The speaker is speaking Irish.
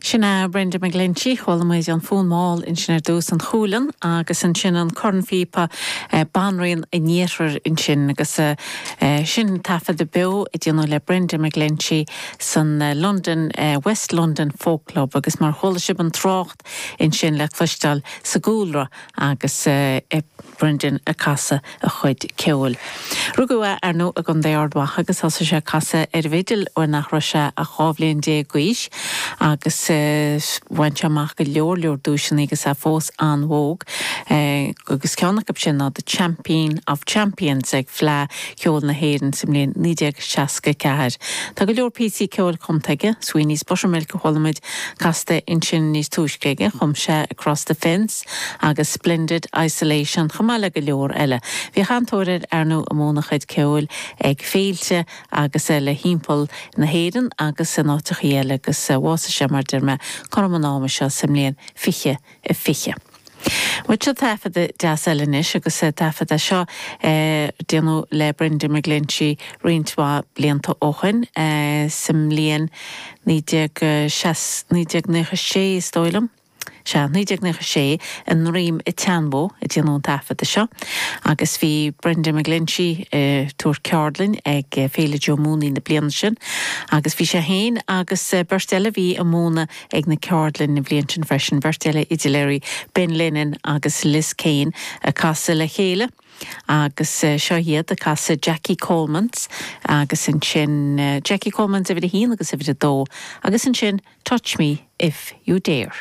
Sin é Brendan McGlinchey. Chuala muid an Fonn Mall ansin ar dtús, an Chualann, agus ansin an Cornphíopa, Banríon an Iarthair ansin agus sin taifeadadh beo a déanadh le Brendan McGlinchey san London, West London Folk Club agus mar chuala sibh an trácht ansin le cloisteáil sa gcúlra agus Brendan ag casadh a chuid ceoil. Rugadh é, ar ndóigh, i gContae Ard Mhacha agus thosaigh sé ag casadh ar an bhfidil nuair nach raibh sé ach 12 bhliain d'aois agus bhain sé amach go leor leor duaiseanna agus é fós an-óg agus ceann acu sin ná The Champion of Champions ag Fleadh Cheoil na hÉireann sa mbliain 1964. Tá go leor píosaí ceoil cumtha aige, Sweeney's Buttermilk a chuala muid casta ansin níos túisce aige, chum sé Across the Fence agus Splendid Isolation chomh maith le go leor eile. Bhíodh an-tóir air, ar ndóigh, ag múineadh a chuid ceoil ag féilte agus eile thimpeall na hÉireann agus in áiteachaí eile agus bhásaigh sé, mar a deir mé, cothrom an ama seo sa mbliain 2020. Bhuel seo taifeadadh deas eile anois agus taifead é seo a déanadh le Brendan McGlinchey roinnt mhaith blianta ó shoin, sa mbliain 1996 is dóigh liom. Sea, 1996, i nDroim an tSeanbhó a déanadh an taifeadadh seo agus bhí Brendan McGlinchey ag tabhairt ceardlainn ag Féile Joe Mooney na bliana sin agus bhí sé féin agus beirt eile a bhí ag múineadh ag na ceardlainn an bhliain sin freisin, beirt eile fhidiléirí, Ben Lennon agus Liz Kane ag casadh le chéile agus seo iad ag casadh Jackie Coleman's agus ansin Jackie Coleman's uimhir a haon agus uimhir a dó agus ansin Touch Me If You Dare.